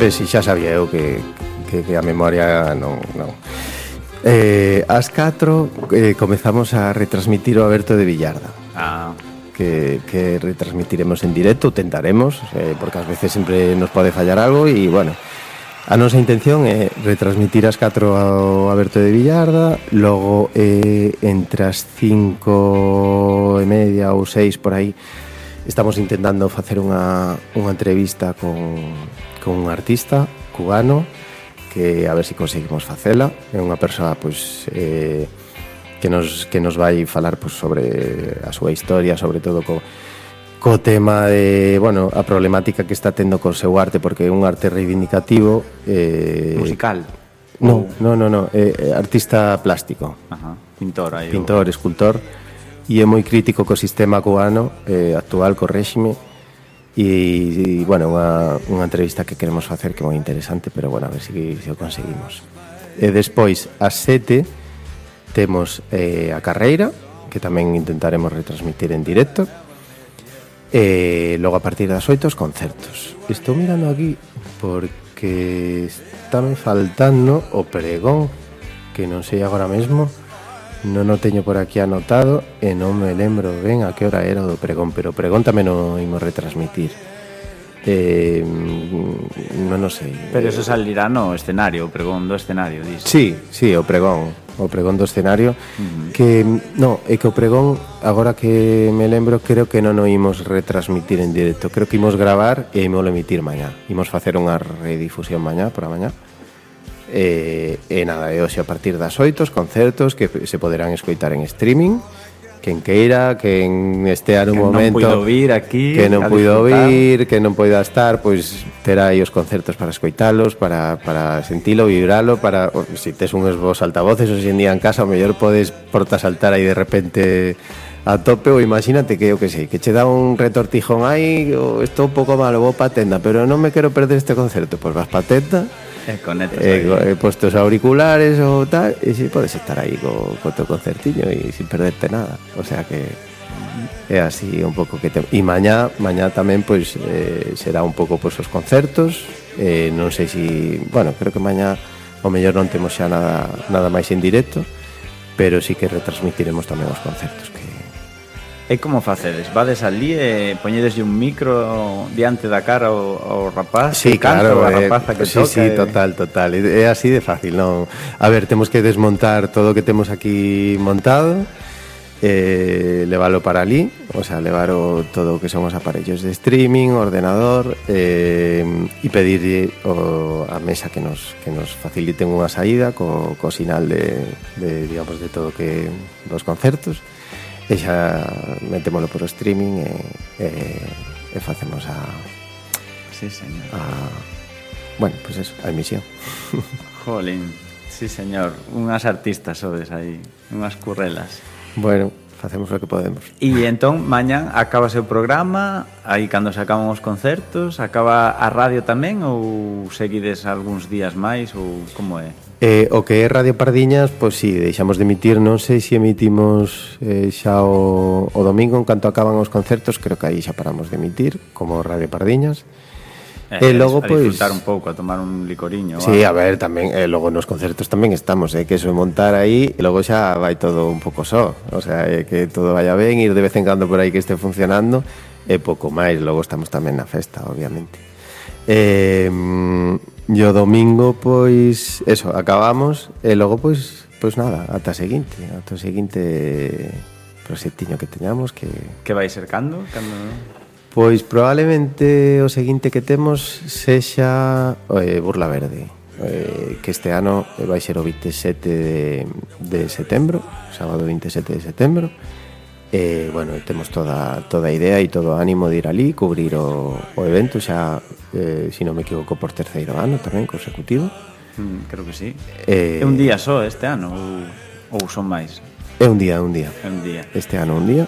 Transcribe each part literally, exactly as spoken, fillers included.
ves, si xa sabía eu que, que, que a memoria non, non. Eh, ás catro eh, comezamos a retransmitir o Aberto de Villarda. Ah. Que, que retransmitiremos en directo, tentaremos, eh, porque ás veces sempre nos pode fallar algo e, bueno, a nosa intención é retransmitir ás catro ao Aberto de Villarda, logo eh, entre as cinco e media ou seis por aí estamos intentando facer unha, unha entrevista con, con un artista cubano que a ver se si conseguimos facela. É unha persoa, pois, eh, que nos, que nos vai falar, pois, sobre a súa historia, sobre todo co, co tema de, bueno, a problemática que está tendo co seu arte, porque é un arte reivindicativo. Eh, Musical? No, no, no, no, é artista plástico. Ajá, pintor aí. Pintor, escultor, e é moi crítico co sistema cubano eh, actual, co réxime, e, e bueno, unha, unha entrevista que queremos facer que é moi interesante, pero bueno, a ver se si, si o conseguimos. E despois, ás sete, temos eh, a carreira, que tamén intentaremos retransmitir en directo, e logo a partir das oito os concertos. Estou mirando aquí porque está me faltando o pregón, que non sei agora mesmo, non o teño por aquí anotado e non me lembro ben a que hora era o do pregón, pero o pregón tamén o imos retransmitir. Eh, non o sei. Pero eso salirá no escenario, o pregón do escenario, dices. Sí, sí, o pregón, o pregón do escenario, uh-huh. Que no, é que o pregón, agora que me lembro, creo que non o imos retransmitir en directo, creo que imos gravar e imos emitir mañá. Imos facer unha redifusión mañá, por a mañá. E, e nada, e hoxe a partir das oito os concertos que se poderán escoitar en streaming. Quen queira, quen estea nun momento que non puido vir aquí, que non puido vir, que non poida estar, pois terá aí os concertos para escoitalos, para, para sentilo, vibralo, para, se si tes uns vos altavoces hoxe en día en casa, o mellor podes porta saltar aí de repente a tope, ou imagínate que, eu que sei, que che dá un retortijón aí, ou estou un pouco malo, vou pa tenda, pero non me quero perder este concerto, pois vas pa tenda, E conectas eh, aí. He posto os auriculares ou tal, e si podes estar aí co, co teu concertiño e sin perderte nada. O sea que é así un pouco que te... E mañá, mañá tamén pois eh, será un pouco pois os concertos. Eh, non sei si, bueno, creo que mañá o mellor non temos xa nada nada máis en directo, pero sí que retransmitiremos tamén os concertos que E como facedes? Vades ali e poñedeslle un micro diante da cara ao, ao rapaz? Sí, claro, canto, eh, a rapaza que sí, toca? Sí, e... total, total. É así de fácil, non? A ver, temos que desmontar todo o que temos aquí montado, eh, leválo para ali, o sea, levar o, todo o que son os aparellos de streaming, ordenador, eh, e pedir o, a mesa que nos, que nos faciliten unha saída co, co sinal de, de, digamos, de todo que dos concertos. E xa metémolo por o streaming e, e, e facemos a... Sí, señor. A, bueno, pois pues eso, a emisión. Jolín, sí, señor. Unhas artistas sodes aí, unhas currelas. Bueno, facemos o que podemos. E entón, mañán acabase o programa, aí cando se acaban os concertos, acaba a radio tamén ou seguides algúns días máis ou como é? Eh, o que é Radio Pardiñas, pois si, sí, deixamos de emitir, non sei se emitimos eh, xa o, o domingo en canto acaban os concertos, creo que aí xa paramos de emitir, como Radio Pardiñas. Eh, e logo, a pois, disfrutar un pouco, a tomar un licoriño. Sí, a ver, tamén, eh, logo nos concertos tamén estamos, eh, que eso é montar aí, e logo xa vai todo un pouco só, o sea, eh, que todo vaya ben, ir de vez en cando por aí que este funcionando, e pouco máis, logo estamos tamén na festa, obviamente. Eh, e o domingo, pois, eso, acabamos, e logo, pois, pois nada, ata a seguinte, ata o seguinte proxectiño que teñamos, que... Que vai ser cando? Cando... Pois probablemente o seguinte que temos sexa eh, Burla Verde, eh, que este ano vai ser o vinte e sete de, de setembro, sábado vinte e sete de setembro. E, bueno, temos toda, toda a idea e todo o ánimo de ir ali, cubrir o, o evento, xa, eh, se non me equivoco, por terceiro ano tamén, consecutivo. Mm, creo que sí. Eh, é un día só este ano ou, ou son máis? É un día, un día. É un día. Este ano un día.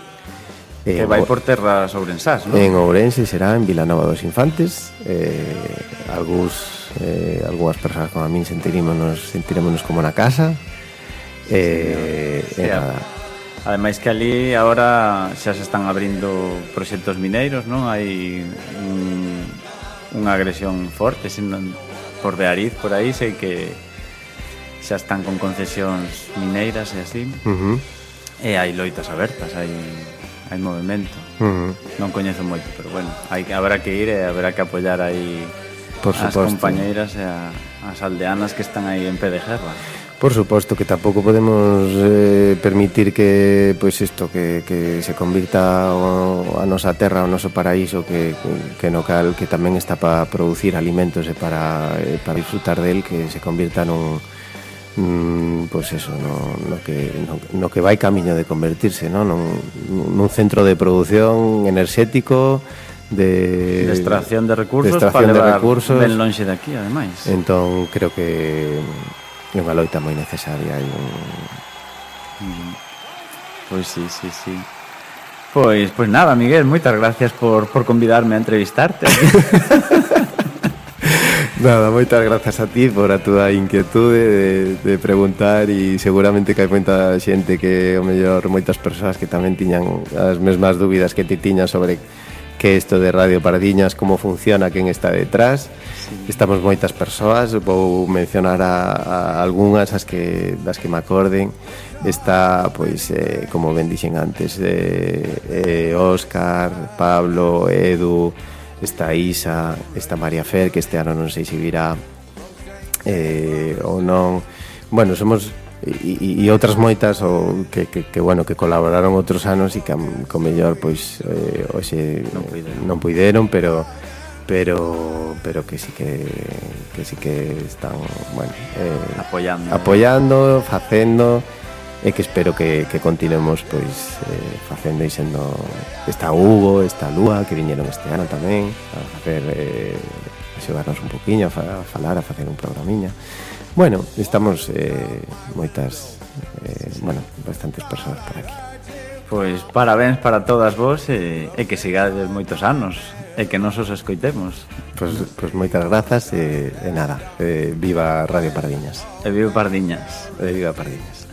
Que eh, vai por terras ourensás, non? En Ourense será en Vilanova dos Infantes. Eh, algúns, eh, algúas persoas como a min sentirémonos, sentirémonos como na casa. Eh, sí, e nada. Ademais que ali agora xa se están abrindo proxectos mineiros, non? Hai un, unha agresión forte, senón por Beariz, por aí, sei que xa están con concesións mineiras e así, Uh-huh. e hai loitas abertas, hai, hai movimento. Uh-huh. Non coñezo moito, pero bueno, hai, habrá que ir e habrá que apoiar aí Por as suposto. compañeiras e a, as aldeanas que están aí en pé de guerra. Por suposto que tampouco podemos eh, permitir que pois isto que, que se convirta o, a nosa terra, o noso paraíso que, que no cal que tamén está para producir alimentos e para, eh, para disfrutar del, que se convirta nun mm, pois eso, no, no, que, no, no que vai camiño de convertirse, no? nun, nun centro de produción enerxético de, De extracción de recursos de extracción para de levar recursos. ben lonxe de aquí, ademais. Entón creo que é unha loita moi necesaria e un... Pois sí, sí, sí. Pois, pois nada, Miguel, moitas gracias por, por convidarme a entrevistarte. Nada, moitas grazas a ti por a túa inquietude de, de preguntar, e seguramente que hai moita xente que, o mellor, moitas persoas que tamén tiñan as mesmas dúbidas que ti tiñas sobre que isto de Radio Pardiñas, como funciona, quen está detrás. Sí. Estamos moitas persoas, vou mencionar a, a algunhas as que, das que me acorden. Está, pois, eh, como ben dixen antes, eh, eh, Óscar, Pablo, Edu, está Isa, está María Fer, que este ano non sei se virá eh, ou non. Bueno, somos e, e outras moitas ou que, que, que, bueno, que colaboraron outros anos e que co mellor pois eh, hoxe non puideron, non puideron pero pero pero que sí que que sí que están, bueno, eh, apoiando, apoiando, facendo, e que espero que, que continuemos pois eh, facendo e sendo. Está Hugo, está Lúa, que viñeron este ano tamén a facer eh, a xogarnos un poquinho, a, fa, a falar, a facer un programiña. Bueno, estamos eh, moitas eh, bueno, bastantes persoas por aquí. Pois parabéns para todas vos e, e que sigades moitos anos e que nos os escoitemos. Pois, pois moitas grazas e, e nada, eh, viva Radio Pardiñas. E viva Pardiñas. E viva Pardiñas.